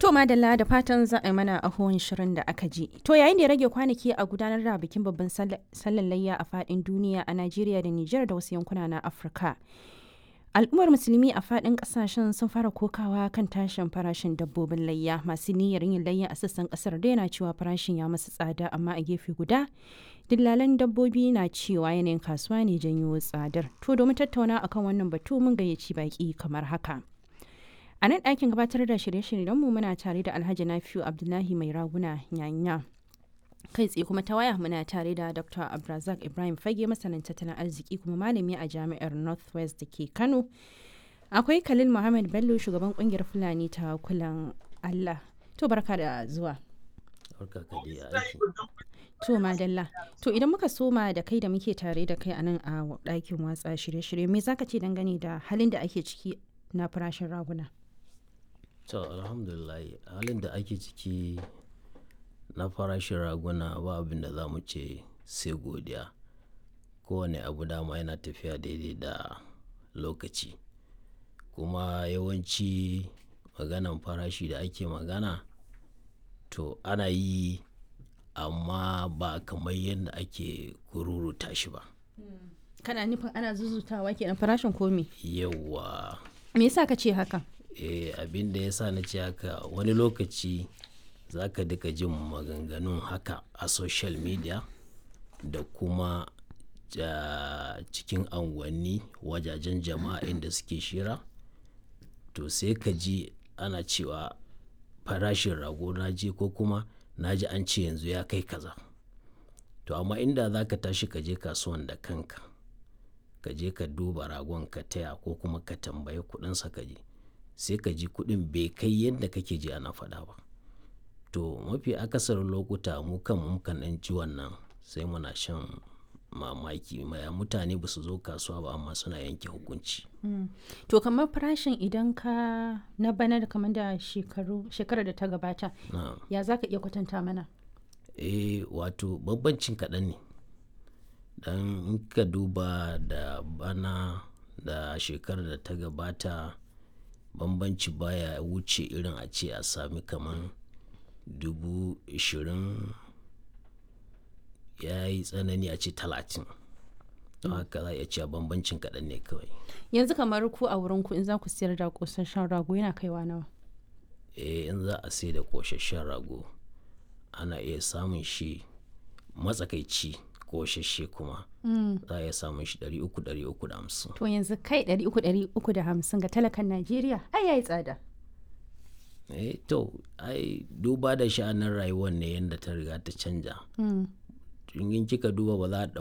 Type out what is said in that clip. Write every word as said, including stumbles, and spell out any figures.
To madalla, da fatan za a yi mana ahuwan shirin da aka ji. To yayin da ya rage kwanaki a gudanar da bikin babban sallar layya a fadin duniya a Najeriya da Nijar da wasu yankuna na Afirka. Al'ummar musulmi a fadin kasashen sun fara kokawa kan tashin farashin dabbobin layya. Masu niyyar yin layya a sassan kasar da yana cewa farashin ya masu tsada, amma a gefe guda dillalan dabbobi na cewa yanayin kasuwa ne janyo tsadar. To domin tattauna akan wannan batu mun gayyaci baki kamar haka. A nan ɗakin gabatar da shirye-shiryenmu muna tare da Alhaji Nafiu Abdullahi Mai Raguna Nyanya. Kai tsaye kuma ta waya muna tare da Doctor Abdulrazak Ibrahim Fage, masanin tattalin arziki kuma malami a Jami'ar Northwest da ke Kano. Akwai Khalil Muhammad Bello, shugaban kungiyar Fulani ta Kulan Allah. To barka da zuwa. Barka ka dai aiki. To madalla. To idan muka soma da kai da muke tare da kai a nan a ɗakin watsa shirye-shirye, me zaka ce dangane da halin da ake ciki na farashin raguna? To alhamdulillah, halin da ake ciki na farashin raguna ba abin da za mu ce sai godiya. Kowane abu dama yana tafiya daidai da lokaci. Kuma yawanci maganan farashi da ake magana to ana yi amma ba kamar yadda ake kururuta shi ba. Kana nufin ana zuzutawa kenan farashin komi? Yauwa. Me yasa ka ce haka? Eh, abin da ya sa na ce haka, wani lokaci za ka duka jin maganganun haka a social media da kuma ja cikin unguwanni, wajajen jama'a inda suke shira. To sai ka ji ana cewa farashin rago na je ko kuma na ji an ce yanzu ya kai kaza. To amma inda za ka tashi ka je kasuwan da kanka, ka je ka duba ragon ka taya ko kuma ka tambayi kuɗinsa ka ji, sai ka ji kuɗin bai kai yadda kake ji ana faɗa ba. To mafi akasarin lokuta mu kan mu kan ɗan ji wannan sai muna shan mamaki. Maya mutane ba su zo kasuwa ba amma suna yanke hukunci. To kamar farashin idan ka na bana da kamar da shekaru shekarar da ta gabata, Na'am. ya za ka iya kwatanta mana? Eh, wato bambancin kaɗan ne. Dan in ka duba da bana da shekarar da ta gabata, bambanci baya wuce irin a ce a sami kaman dubu ashirin, ya yi tsanani a ce talatin. Don haka za a iya cewa bambancin kaɗan ne kawai. Yanzu kamar ku a wurinku in za ku siyar da ƙosasshen rago yana kaiwa nawa? Eh, in za a sayar da ƙosasshen rago ana iya samun shi matsakaici ƙosasshe kuma za a iya samun shi ɗari uku, ɗari uku da hamsin. To yanzu kai ɗari uku ɗari uku da hamsin ga talakan Najeriya ai yayi tsada. Eh to ai duba da sha'anin rayuwar ne yanda ta riga ta canja. In kika duba ba za a ɗau.